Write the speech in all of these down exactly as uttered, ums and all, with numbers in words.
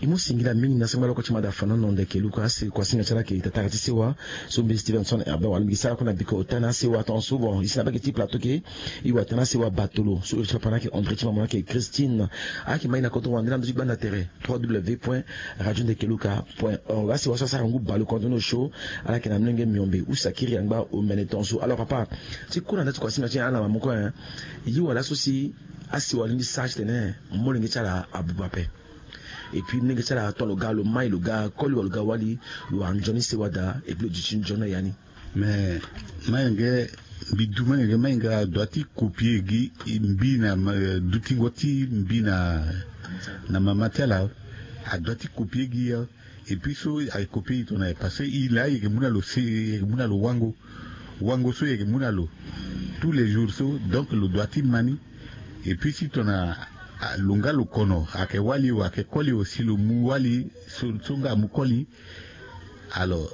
E mu singila mingi na sengba loko ti mada fanono ndeke luka asi kuasinga ti ala ayeke tatara ti sewa. So mbi Stevenson Herbert wala mbi sara kue na biko ota na sewa tongaso bon e si na bake ti plateau ke e wata na sewa batolo so iri ti papa na ayeke André ti mama na ayeke Christine. Ayeke mai na koto wande na ndö ti gbanda tere trois w w point radio ndeke luka point org. Asewa so asara ngu baleoko ndo ni osio. Ala yeke na molenge miombe use akiri angba omene tongaso. Alors papa, ti kue na nda ti kuasinga ti ala na mama kue, ye wala so si asewa alingbi sara titene molenge ti ala abuba ape. Et puis molenge ti ala ato lo ga lo mai lo ga koli wala lo ga wali, lo wara nzoni sewa daa et puis lo duti nzoni na ya ni. Mais malenge, mbi du malenge, malenge adua ti copier gi mbi na dutingo ti mbi na na mama ti ala. Adua ti copier gi ya. Et puis so ayeke copier e tongana parce que e laa e yeke mu na lo se e yeke mu na lo wango. Wango so e yeke mu na lo tous les jours so, donc lo dua ti ma ni. Et puis si tongana lo nga lo kono ayeke wali o ayeke koli o si lo mu wali so so nga amu koli. Alors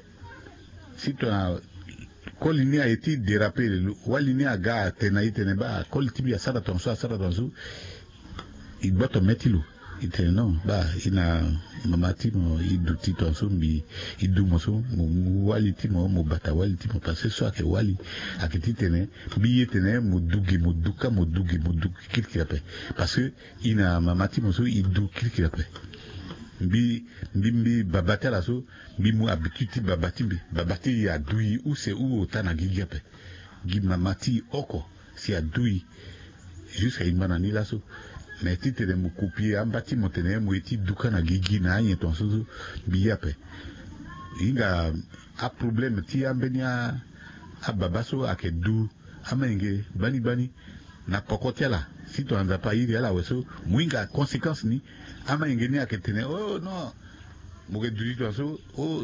si tongana koli ni aye ti déraper lo wali ni aga atene na e tene baa koli ti mbi asara tongaso asara tongaso. E gboto mê ti lo. E tene non baa e na mama ti mo e duti tongaso mbi e du mo so mo mu wali ti mo mo bata wali ti mo parce que so ayeke wali ayeke titene mbi ye tene mo du gi mo du kâ mo du gi mo du kirikiri ape. Parce que e na mama ti mo so e du kirikiri ape. Mbi mbi mbi baba ti ala so mbi mu habitude ti baba ti mbi. Baba ti e adu e use hou ota na gigi ape. Gi mama ti e oko si adu e jusque ahinga na ni laso. Mais titene mo copier amba ti mo tene mo ye ti du kâ na gigi na anyen tongaso so mbi ye ape. E hinga aproblème ti ambeni ababa so ayeke du amalenge gbani gbani na poko ti ala. Si tongana Nzapa airi ala awe so mo hinga conséquence ni. Amalenge ni ayeke tene oh non, mo yeke duti tongaso. Oh,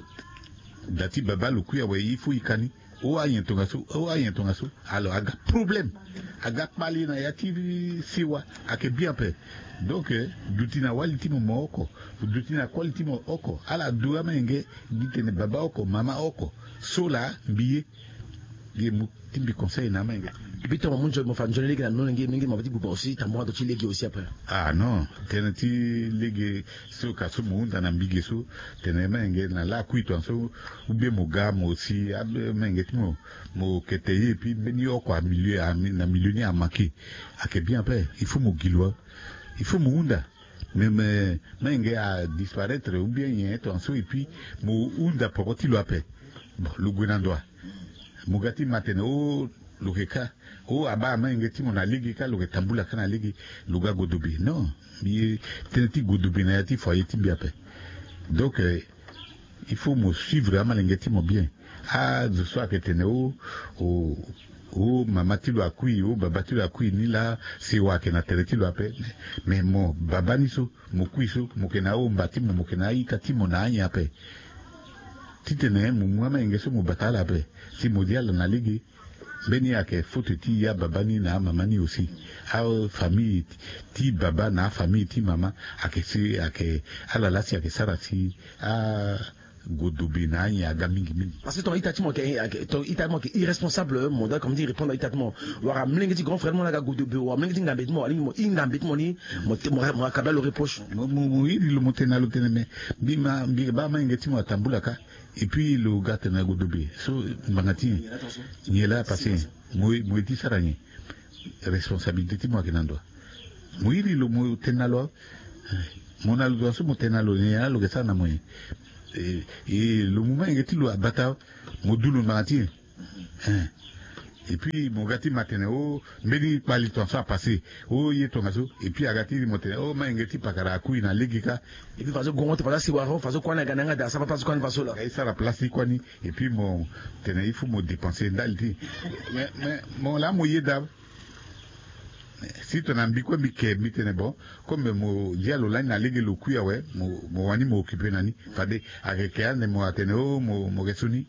da ti baba lo kui awe il faut e ka ni. Oh anyen tongaso oh anyen tongaso. Alors aga problème. Aga kpale na ya ti sewa. Ayeke bien ape. Donc duti na wali ti mo mo oko. Duti na koli ti mo oko ala du amalenge. Gi tene baba oko mama oko so laa mbi ye. Ye mu ti mbi conseil na amalenge. Bito mo mu nzoni mo fa nzoni lege na molenge molenge mo fa ti buba aussi tambora ndo ti lege aussi après. Ah non, tënë ti lege so ka so mo hunda na mbi ge so. Tene amalenge na lakui tongaso ou bien mo ga mo si amalenge ti mo mo kete ye et puis mbeni oko amilieu na milieu ni amanke. Ayeke bien ape. Il faut mo gi lo. Il faut mo hunda. Mais mais amalenge adisparaître ou bien nyen tongaso et puis mo hunda poko ti lo ape. Bon lo gue na ndo wa. Mo ga ti ma tene oh lo yeke kâ. Oh abaa amalenge ti mo na lege kâ lo yeke tambula kâ na lege. Lo ga godobe non. Mbi ye tënë ti godobe na ya ti foyer ti mbi ape. Donc il faut mo suivre amalenge ti mo bien. Azo so ayeke tene oh oh mama ti lo akui oh baba ti lo akui ni laa. Sewa ayeke na tere ti lo ape. Mais mo baba ni so mo kui so mo yeke na ahomba ti mo mo yeke na aita ti mo na anyen ape. Titene mo mu amalenge so mo bata ala ape si mo zi ala na lege. Mbeni ayeke faute ti ababa ni na amama ni aussi. Afamille ti baba na afamille ti mama ayeke si ayeke ala laa si ayeke sara si a godobe na anyen aga mingi mingi. Parce que ton ita ti mo yeke ton ita ti mo yeke irresponsable mo da comme ti répondre ita ti mo. Wala molenge ti grand frère mo na aga godobe wala molenge ti ngambe ti mo wala mo i ngambe ti mo ni. Mo akabla lo reproche. Mo iri lo mo tene na lo tene mais mbi ma mbi baa amalenge ti mo atambula kâ. Et puis lo ga tene na godobe so mbanga ti nyen? Nyen laa parce que mo ye ti sara nyen? Responsabilité ti mo ayeke na ndo wa. Mo iri lo mo tene na lo. Mo na lo tongaso mo tene na lo nyen laa lo yeke sara na mo nyen? E lo mu amalenge ti lo abata mo du lo mbanga ti nyen? Hein. Et puis mo ga ti ma tene oh mbeni kpali tongaso apasse. Oh ye tongaso et puis aga ti mo tene oh amalenge ti pakara akui na lege kâ. Et puis faso gongo ti faso asiwaro faso kuâ ni aga na yanga daa sara place ti kuâ ni faso laa. Aga e sara place ti kuâ ni. Et puis mo tene il faut mo dépenser ndali ti. Mais mais mo laa mo yeda. Si tongana mbi kue mbi ke mbi tene bon comme mo dia lo lani na lege lo kui awe mo wani mo occuper na ni. Fade ayeke ke ande mo atene oh mo yeke so ni.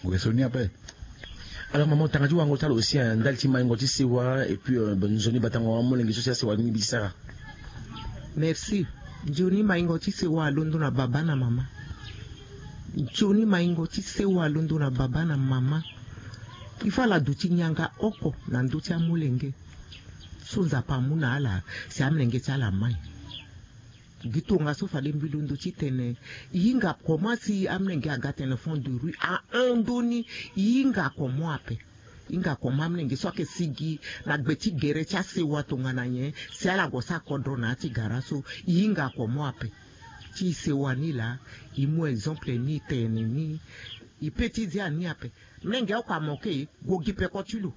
Mo yeke so ni ape. Alors maman tanga ti wango ti ala aussi ndali ti maingo ti sewa et puis nzoni batango wa molenge so si asewa ni mbi ti sara. Merci. Nzoni maingo ti sewa alondo na baba na mama. Nzoni maingo ti sewa alondo na baba na mama. Il faut ala duti nyanga oko na ndö ti amolenge so nzapa amu na ala si amolenge ti ala amai. Gi tongaso fade mbi londo ti tene, e hinga comment si amolenge aga tene fond de rue ahon ndoni. E hinga comment ape? E hinga comment amolenge so ayeke sigi na gbe ti gere ti asewa tongana nyen si ala gue sara kodro na ya ti gara so? E hinga comment ape? Ti e sewa ni laa, e mu exemple ni, e tene ni, e pe ti zia ni ape. Molenge oko amoke, gue gi peko ti lo.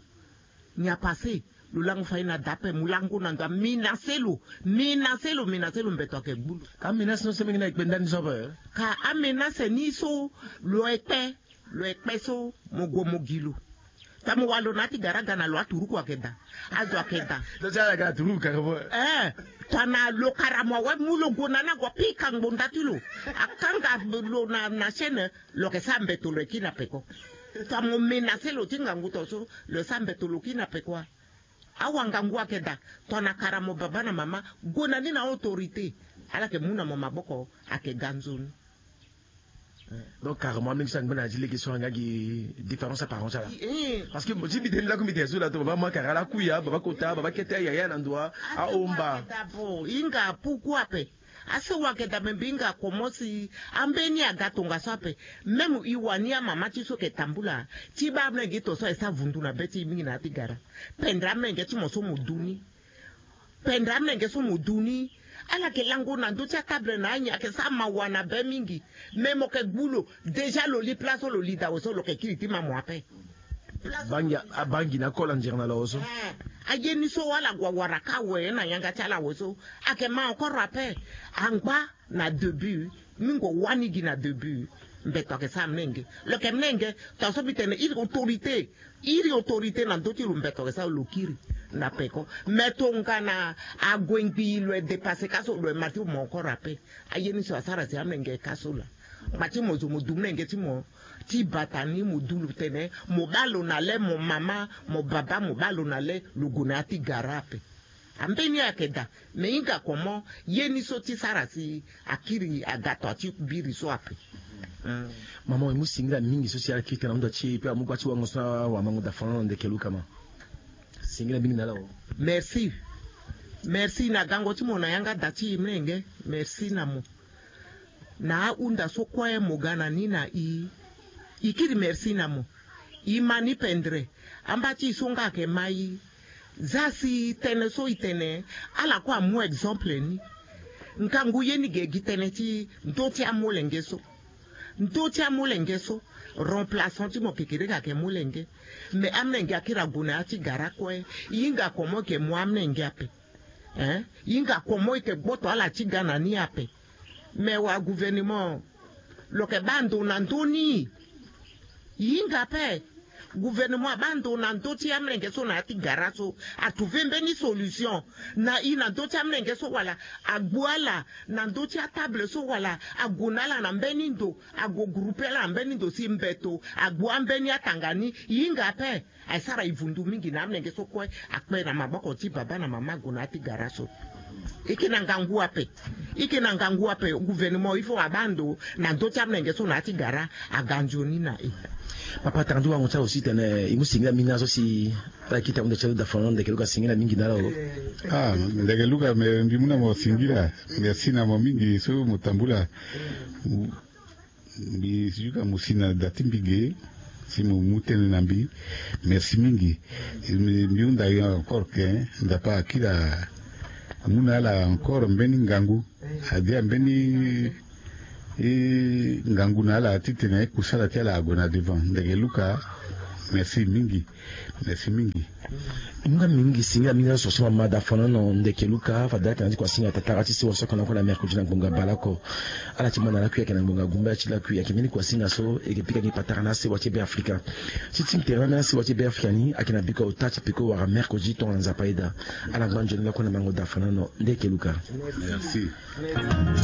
Nyen apase? Lo lango fade na da ape, mo lango na ndo, amenace lo, amenace lo, amenace lo, mbeto ayeke gbu lo. Ka amenace ni so menge na e kpe ndani so ape? Ka amenace ni so lo ekpe, lo ekpe so mo gue mo gi lo. Tongana mo wara lo na ya ti gara aga na lo aturuku ayeke daa. Azo ayeke daa. Donc ti ala ga aturuku kara mo. Eh, tongana lo kara mo awe, mu lo gue na ni ague apika ngbonda ti lo, akanga lo na, na chaîne, lo yeke sara mbeto lo ye kiri na peko. Tongana mo menase lo ti ngangu to so, lo sara mbeto lo kiri na peko wa. Awa ngangu ayeke daa. Tongana kara mo baba na mama, gue na ni na autorité. Ala yeke mu na mo maboko, ayeke ga nzoni. Donc carrément mingi so angba na ya ti lege so anga gi différence apparence ala. Eh. Parce que mo ti mbi tene laku mbi tene so la to baba mo akara ala kuya, baba kota, baba kete, yaya na ndo wa, ahomba. D'abord, e hinga pourquoi ape? Asewa ayeke daa, me mbi hinga comment si ambeni aga tongaso ape. Même e wani amama ti so ayeke tambula ti baa amolenge to so aye sara vundu na be ti e mingi na ya ti gara. Pendre amolenge ti mo so mo du ni. Pendre amolenge so mo du ni. Ala yeke lango na ndö ti atable na anyen, ayeke sara mawa na be mingi. Me mo yeke gbu lo. Déjà lo li place so lo li daa awe so, lo yeke kiri ti ma mo ape. Bangi, abangi na kola nzere na lo awe so. Eh, aye ni so ala gue awara ka awe na yanga ti ala awe so. Ayeke ma encore ape. Angba na début, mingo wani gi na début. Mbeto ayeke sara mlenge. Lo yeke mlenge, tongaso mbi tene iri autorité. Iri autorité na ndö ti lo, mbeto ayeke sara lo kiri na peko. Me tongana ague ngbii lo ye dépasser ka so, lo ye ma ti mo encore ape. Aye ni so asara si amlenge ka so laa. Ngba ti mo zo mo du mlenge ti mo ti bata ni, mo du lo tene mo baa lo na le, mo mama, mo baba, mo baa lo na le, lo gue na ya ti gara ape. Ambeni ayeke daa. Me e hinga comment ye ni so ti sara si akiri aga to ti biri so ape. Hmm. Mama, e mu singila mingi so si ala kiri tene na hunda ti e, pe amu gba ti wango so na wamango da fana na ndeke luka ma. Singila mingi na ala o. Merci. Merci na gango ti mo na yanga da ti e mlenge. Merci na mo. Na ahunda so kue mo ga na ni na e, e kiri merci na mo. E ma ni pendre. Amba ti e so nga ayeke ma e. Za si tënë so e tene, ala kue amu exemple ni. Ngangu ye ni ge gi tënë ti ndö ti amolenge so. Ndö ti amolenge so, remplaçant ti mo kekereke ayeke molenge. Me amolenge akiri ague na ya ti gara kue. E hinga comment e yeke mu amolenge ape? Hein? E hinga comment e yeke gboto ala ti ga na ni ape? Me wa gouvernement, lo yeke baa ndo na ndö ni. E hinga ape. Gouvernement abaa ndo na ndö ti amolenge so na ya ti gara so. Atrouver mbeni solution na e na ndö ti amolenge so wala agbu ala na ndö ti atable so wala ague na ala na mbeni ndo, ague grouper ala na mbeni ndo si mbeto agbu ambeni atanga ni. E hinga ape. Aye sara e vundu mingi na amolenge so kue akpe na maboko ti baba na mama ague na ya ti gara so. E yeke na ngangu ape. E yeke na ngangu ape, gouvernement il faut abaa ndo na ndö ti amolenge so na ya ti gara aga nzoni na e. Papa, tara ndu wango ti awe aussi tene e mu singila mingi na so si ala kita hunda ti azo da fana na ndeke luka, singila mingi na ala o. Ah, ndeke luka, me mbi mu na mo singila. Merci na mo mingi so mo tambula. Mbi yuka mo si na da ti mbi ge si mo mu tënë na mbi. Merci mingi. Mbi, mbi hunda yo encore ke Nzapa akiri amu na ala encore mbeni ngangu. Adia mbeni, eh, ngangu na ala titene kusala ti ala ague na devant. Ndeke luka, merci mingi. Merci mingi. Nga mingi, singila mingi na so so mama da fana na ndeke luka, fade ala tena ti kua singa tatara ti sewa so ayeke na oko na mercredi na ngbonga bale oko. Ala ti ma na lakui ayeke na ngbonga gumba ti lakui ayeke mbeni kua singa so e yeke pika gi patara na asewa ti Be Afrika. Ti ti tere na mbeni asewa ti Be Afrika ni ayeke na biko ota ti peko wala mercredi tongana Nzapa ayeda. Ala ngba nzoni lakue na mango da fana na ndeke luka. Merci.